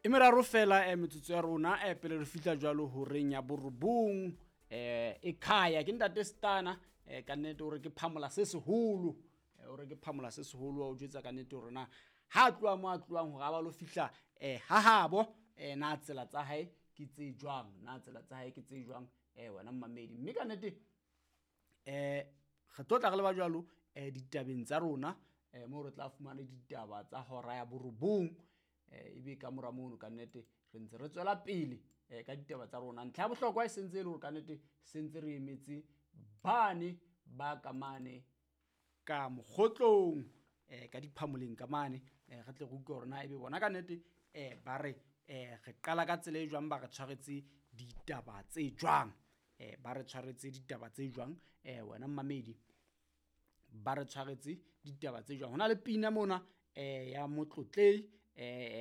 E meraro fela metsotso ya rona pele re fihla jwalo horeng ya borobong. E khaya ke ntate Stana, ka nnete hore ke phamola se seholo, hore ke phamola se seholo wa o jwetsa ka nnete hore na ha tloha mo a tlohang hore a ba lo fihla ha habo, na tsela tsa hae ke tse jwang, na tsela tsa hae ke tse jwang, wena mmamedi. Mme ka nnete re tlo tla re leba jwalo ditabeng tsa rona, moo re tla fumana ditaba tsa hora ya borobong, ebe ka mora mono ka nnete re ntse re tswela pele ka ditaba tsa rona. Ntlha ya bohlokwa e sentse e le hore ka nnete sentse re emetse bane ba ka mane ka mokgotlong, ka diphamoleng ka mane, re tle re utlwe hore na ebe bona ka nnete ba re re qala ka tsela e jwang, ba re tshwaretse ditaba tse jwang, ba re tshwaretse ditaba tse jwang, wena mmamedi, ba re tshwaretse ditaba tse jwang. Hona le pina mona ya motlotlei,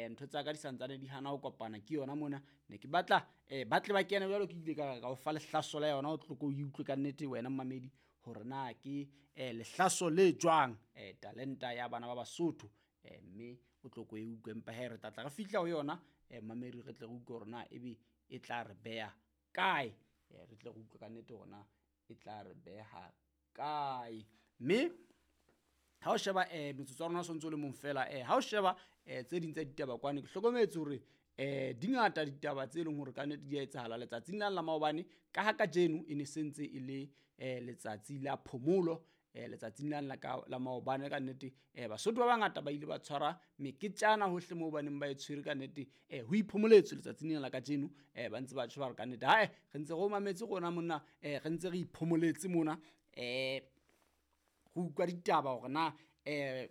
ntho tsa ka di santsane di hana ho kopana ke yona mona. Ne ke batla ba tle ba kene jwalo, ke ile ka o fa lehlaso la yona, o tlo ko utlwe ka nnete wena mmamedi hore na ke lehlaso le jwang, talenta ya bana ba Basotho, mme o tlo ko e utlwe. Empa hee re tla tla re fihla ho yona, mmamedi, re tle re utlwe hore na ebe e tla re beha kae, re tle re utlwe ka nnete hore na e tla re beha kae. Mme ha o sheba metsotso ya rona o sontso le mong fela, ha o sheba tse ding tsa ditaba kwane, ke hlokometse hore di ngata ditaba tse leng hore ka nnete di a etsahala letsatsing la maobane, ka ha kajeno e ne sentse e le letsatsi la phomolo, letsatsing la ka la maobane ka nnete Basotho ba bangata ba ile ba tshwara meketjana hohle moo ba neng ba e tshwere ka nnete, ho iphomoletswe letsatsing lena la kajeno, ba ntse ba tjho ba re ka nnete hae re ntse re o mametse rona monna, re ntse re iphomoletse mona, re utlwa ditaba hore na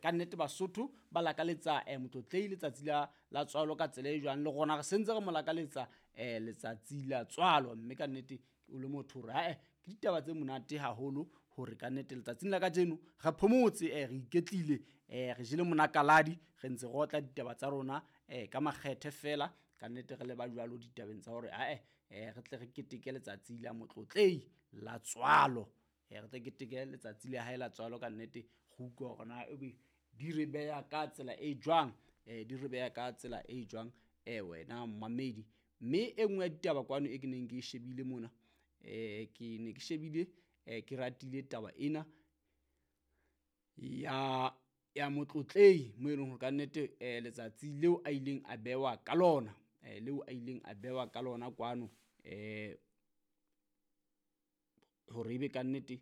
ka nnete Basotho ba lakaletsa motlotlei letsatsi la tswalo ka tsela e jwang, le rona re sentse re mo lakaletsa letsatsi la tswalo. Mme ka nnete o le motho hore hae ke ditaba tse monate haholo hore ka nnete letsatsing la kajeno re phomotse, re iketlile, re jele monakaladi, re ntse re otla ditaba tsa rona ka makgethe fela ka nnete re leba jwalo ditabeng tsa hore hae re tle re keteke letsatsi la motlotlei la tswalo, re tle keteke letsatsi la hae la tswalo ka nnete, re utlwe hore na ebe di re beha ka tsela e jwang, di re beha ka tsela e jwang, wena mmamedi. Mme e nngwe ya ditaba kwano e ke neng ke e shebile mona, ke ne ke shebile, ke ratile taba ena ya motlotlei mo e leng hore ka nnete letsatsi leo a ileng a bewa ka lona, leo a ileng a bewa ka lona kwano, hore ebe ka nnete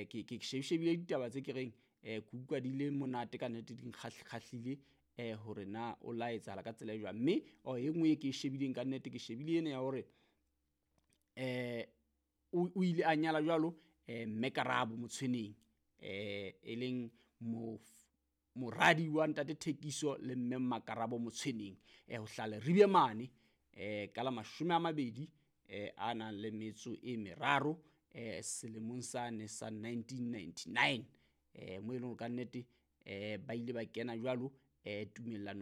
ke shebile ditaba tse ke reng, ke utlwa di le monate ka nnete, di nkgahlile, hore na o la etsahala ka tsela e jwang. Mme e nngwe e ke e shebileng ka nnete, ke shebile ena ya hore o ile a nyala jwalo mme Karabo Motshweneng, e leng moradi wa ntate Thekiso le mme Makarabo Motshweneng, ho hlaha Leribe mane, ka la 20 a nang le metso e meraro, selemong sane sa 1999, mo e leng hore ka nnete ba ile ba kena jwalo tumellano.